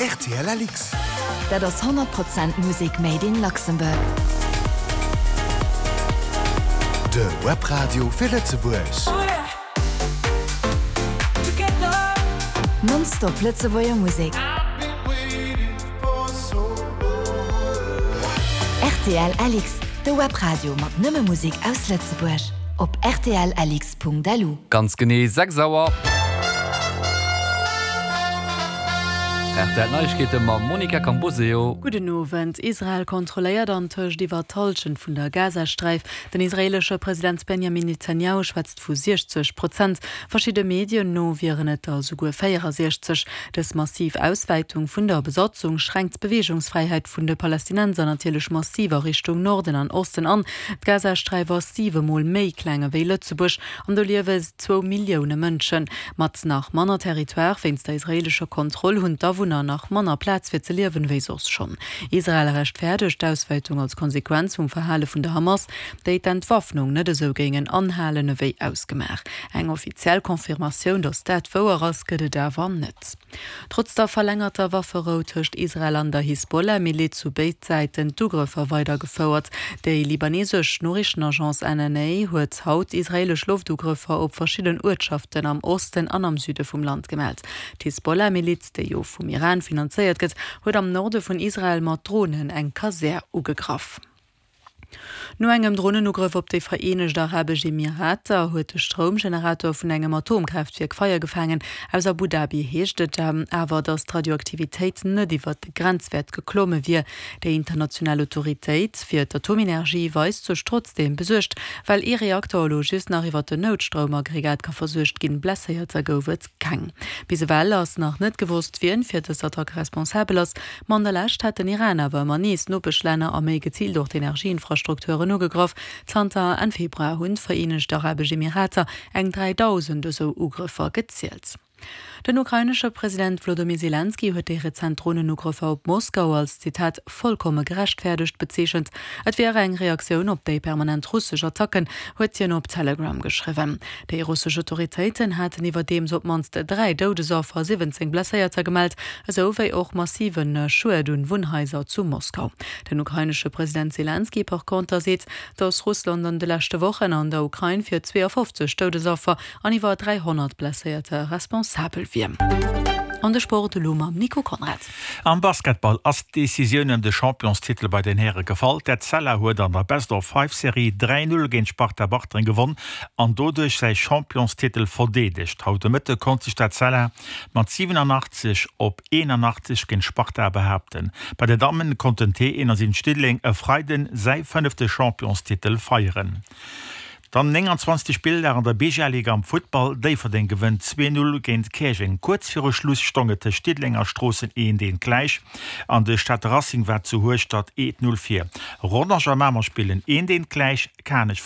Rtl LX. Dat ass 100 Prozent Musek made in Luxembourg. De Webradio fir Lëtzebuerg. Non-stop Lëtzebuerger Musek. Rtl LX, de Webradio mat nëmme Musek aus Lëtzebuerg. Op rtlx.lu. Ganz genee 6 Auer. Rtl Neiegkeete mam Monica Camboseo. Gudden Owend. Israel kontrolléiert antëscht iwwer d'Hallschent vun der Gazasträif. Den israeelesche President Benjamin Netanjahu schwätzt vu 60 Prozent. Verschidde Medien no wieren et der souguer 64. Dës massiv Auswäitung vun der Besatzung schränkt d'Beweegungsfräiheet vun de Palästinenser natierlech massiv a Richtung Norden an Osten an. D'Gazasträif ass siwe Mol méi kleng ewéi Lëtzebuerg an do liewe zwou Millioune Mënschen. Mat nach manner Territoire wéinst der israeelescher Kontroll hunn d'Awunner nach manner Plaz fir ze liewen ewéi soss schonn. Israel rechtfäerdegt d'Auswäitung als Konsequenz vum Verhale vun der Hamas, déi d'Entwaffnung net esou géingen anhalen ewéi ausgemaach. Eng offiziell Confirmatioun, datt dat wouer ass, gëtt et awer net. Trotz der verlängerter Wafferou tëscht Israel an der Hisbollah-Miliz hu béid Säiten d'Ugrëffer weidergefouert. Déi libanesesch Noriichtenagence NNA huet haut israeelesch Loftugrëffer op verschidden Uertschaften am Osten an am Süde vum Land gemellt. D'Hisbollah-Miliz, déi jo vum Iran finanzéiert gëtt, huet am Norde vun Israel mat Dronen eng Kasär ugegraff. No engem Dronenugrëff op déi Vereenegt Arabesch Emirater huet de Stroumgenerator vun engem Atomkraaftwierk Feier gefaangen. Aus Abu Dhabi heescht et awer, datt d'Radioaktivitéit net iwwert de Grenzwäert geklomme wier. Déi international Autoritéit fir d'Atomenergie weist sech trotzdeem besuergt, well ee Reakter elo just nach iwwert den Noutstroumaggregat ka versuergt ginn. Blesséierter gouf et keng. Bis ewell ass nach net gewosst, wien fir dës Attack responsabel ass. Ma an der Lescht hätt den Iran awer ëmmer nees Nopeschlänner a méi geziilt och d'Energieinfrastrukturen ugegraff. Zanter Enn Februar hunn d'Vereenegt Arabesch Emirater eng 3.000 esou Ugrëffer gezielt. Den ukrainesche President Wlodomir Selenskyj huet déi rezent Dronenugrëffer op Moskau als, Zitat, vollkomme gerechtfäerdegt bezeechent. Et wier eng Reaktioun op déi permanent russesch Attacken, huet hien op Telegram geschriwwen. Déi russesch Autoritéiten haten iwwerdeems op d'mannst 3 Doudesaffer a 17 Blesséierter gemellt, esou wéi och massive Schued un Wunnhaiser zu Moskau. Den ukrainesche President Selenskyj par conter seet, datt Russland an de leschte Wochen an der Ukrain fir 52 Doudesaffer an iwwer 300 Blesséierter responsabel wier. An de Sport elo mam Nico Conrad. Am Basketball ass d'Decisioun ëm de Championstitel bei den Häre gefall. D'Etzella huet an der Best-of-Five-Serie 3, 0 géint Sparta Bartreng gewonn an doduerch säi Championstitel verdeedegt. Haut de Mëtte konnt sech d'Etzella mat 87 op 81 géint Sparta behaapten. Bei de Dammen konnt den T71 Diddeleng e Freiden säi fënnefte Championstitel feieren. Dann 29. Spilldag an der BGL-Liga am Futtball, Déifferdeng gewënnt 2, 0 géint Käerjeng. Kuerz viru Schluss stong et tëscht Diddeleng a Stroossen 1, 1 gläich an de Stater Racing war zu Hueschtert 1, 0 vir. Rodange a Mamer spillen 1, 1 gläich, Kanech.